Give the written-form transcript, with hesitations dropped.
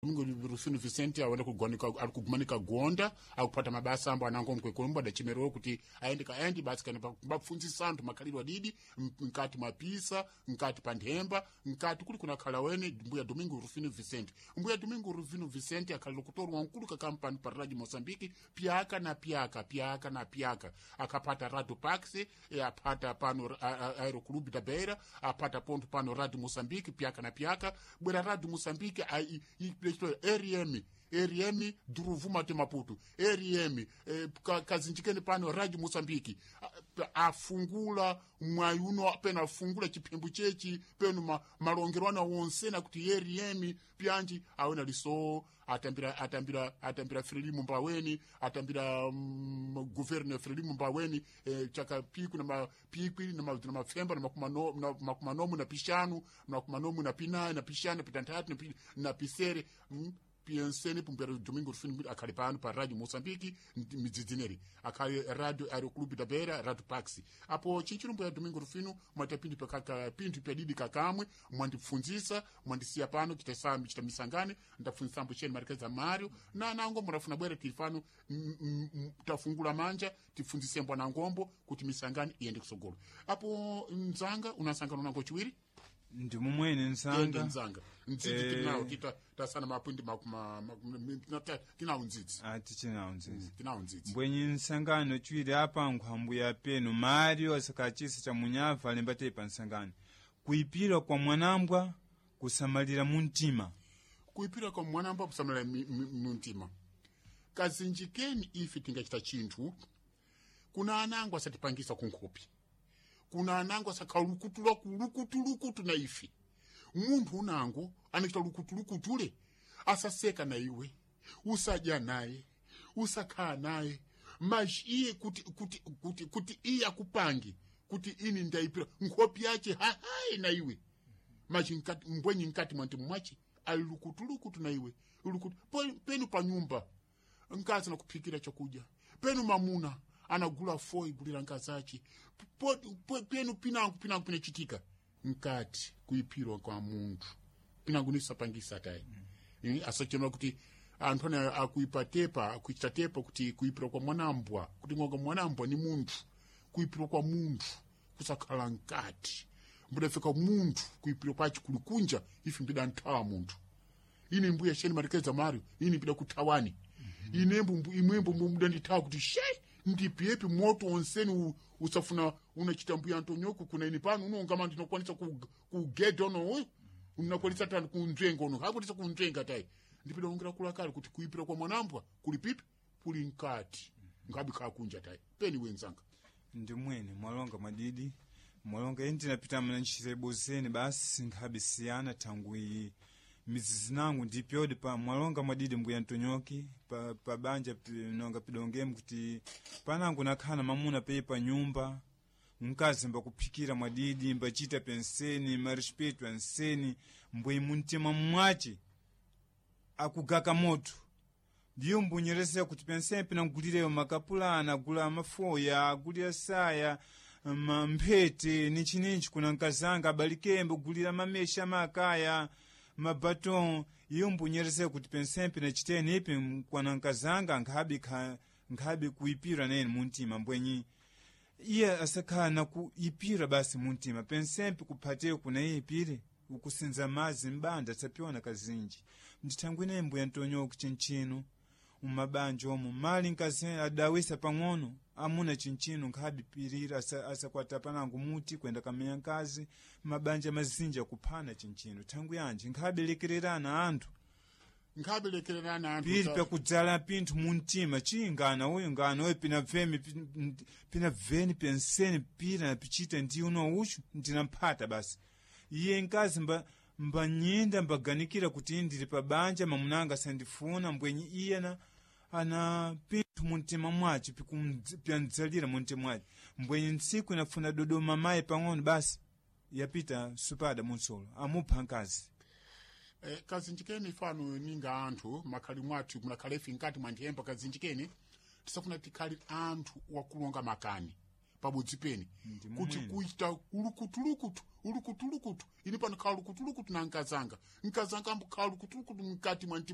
Domingo Rufino Vicente awenda kugumanika ari kugumanika gonda akupata mabasa ambo anango mkwekombo adachemerewa kuti aende kaendi basi kana bapfunzisa anthu makhalidwe adidi mkati mwa pisa, mkati pa nthemba, mkati kuli kunakhala wene mbuya Domingo Rufino Vicente. Mbuya Domingo Rufino Vicente akhalira kutorwa mkulu ka kampani pa Radio Mozambique pyaka na pyaka, pyaka na pyaka, akapata Radio Pax, apata pano Aeroclube da Beira, apata ponto pano Radio Mozambique pyaka na pyaka, bwera Radio Mozambique RM RM Duruvuma te Maputo, RM kazinjikeni pano Radio Mozambique, afungula mwayi uno peno afungula chiphembu chechi peno malongerwana wonsena kuti RM pyanji awena liso atambira atambira atambira Frelimo Mbaweni, atambira governo Frelimo Mbaweni, chaka piku na mapikwi na mafemba na makumanomu na pishanu na makumanomu na pinayi na pishanu na pitanthatu na pisere, pienseni pumbera Domingo Rufino akhali pano pa Radio Mozambique midzidzineri akhali Radio Aeroclube da Beira, Radio Pax. Apo chinchirumbo ya Domingo Rufino mwata pinthu pakaka pinthu pyadidi kakamwe mwandipfunzisa mwandisiya pano chita chita misangane ndapfunzisambo cheni marikeza Mario na nango murafuna bwere tili pano tafungula manja tipfunzise mbwana ngombo kuti misangane iyende kusogolo. Apo mzanga unasangana nango chiwiri ndi mumwene ende nsanga nzanga ndzidzi tinawo tita tasana mapwindi tinawo ndzidzi. Tichinawo ndzidzi. Tinawo ndzidzi. Mbwenyi nsangano chiwiri apa nkhwambuya penu Mario asakachisa cha munyava alemba pa nsangano kuipira kwa mwanambwa kusamalira muntima. Kuipira kwa mwanambwa kusamalira muntima. Kazinjikeni ife tingachita chinthu kuna anango asatipangisa kunkhopi, kuna anango asakhalukutula kulukutulukutu na ife. Munthu unango anachita lukutulukutule asaseka na iwe, usadya naye, usakhala naye, maji iye kuti kuti kuti kuti iye akupange kuti ini ndaipira nkhopi yache hahayi na iwe, maji nkati mbwenyi nkati mwantimu mwache ali lukutulukutu na iwe lukutu penu pa nyumba nkazi nakuphikira chakudya, penu mamuna anagula foi gulira nkazi ache, penu pinango pinango pinachitika nkati kuipirwa kwa munthu pinango nisapangisa tayi. Asachema kuti anthu ane akuipa tepa akuichita tepa kuti kuipirwa kwa mwanambwa kuti ngonga mwanambwa ni munthu, kuipirwa kwa munthu kusakhala nkati mbudafika munthu kuipirwa kwachi kulikunja ife mbida nthawa munthu ine mbuya sheni marikeza Mario ine mbida kuthawani inembo imwembo mudandithawa kuti she ndipiepi moto onseni usafuna unachita mbuya Antonioku kuna ini pano unongama ndinokwanisa kugeda uno uyu unakwanisa tani kunzvenga uno hakwanisa kunzvenga tayi ndipida ongera kulakali kuti kuipira kwa mwanambwa kuli pipi kuli nkati ngabi khakunja tayi peni wenzanga. Ndi mwene mwalonga mwadidi mwalonga ine ndinapita mna ntchito zeni basi nkhabe siyana thangwi mizizi nangu ndipyodi pa mwalonga mwadidi mbuya Ntonyoki pa banja nonga pidongemu kuti panangu nakhala mamuna pei pa nyumba mkazi mbakuphikira mwadidi mbachita penseni marespeto anseni mbwe muntima mwache akugaka moto ndiyo mbunyeresera kuti penseni pinangulireyo makapulana agula mafoya agulira saya mphete nichininchi kuna nkazanga abalikembe kugulira mamesha makaya mabaton iyo mbunyeresera kuti pensempe nachiteni ipi kwana nkazanga nkhabe kuipira nene muntima mbwenyi iye asakhala nakuipira basi muntima pensempe kuphateyo kuna iye ipire ukusinza mazi mbanda sapiona kazinji ndithangwine mbuya Ntonyoku chinchino umabanja omo mali nkazi adawisa pang'ono amuna chinchino nkhabe pirira asakwata panango muti kwenda kamenya nkazi mabanja mazinji akuphana chinchino thangu yanji nkhabe lekererana anthu nkhabe lekererana anthu pili pyakudzala pinthu muntima chingana uyu ngana uyu pina veni penseni pira napichita ndi uno uchu ndinamphata basi iye nkazi mbanyinda mbaganikira kuti ndili pa banja mamunanga sandifuna mbwenyi iye ana pinthu muntima mwace pyandzalira muntima mwace mbwenyi ntsiku inafuna dodoma mayi pang'ono basi yapita supada munsolo amupha nkazi. Kazinjikeni fano ninga anthu makhali mwathu munakhalefi nkati mwa nthemba kazinjikeni tisafuna tikhali anthu wakulonga makani pabodzi pene kuti kuita ulukutulukutu ulukutulukutu ini pano khala lukutulukutu na nkazanga nkazanga ambukhala lukutulukutu mkati mwa mtima.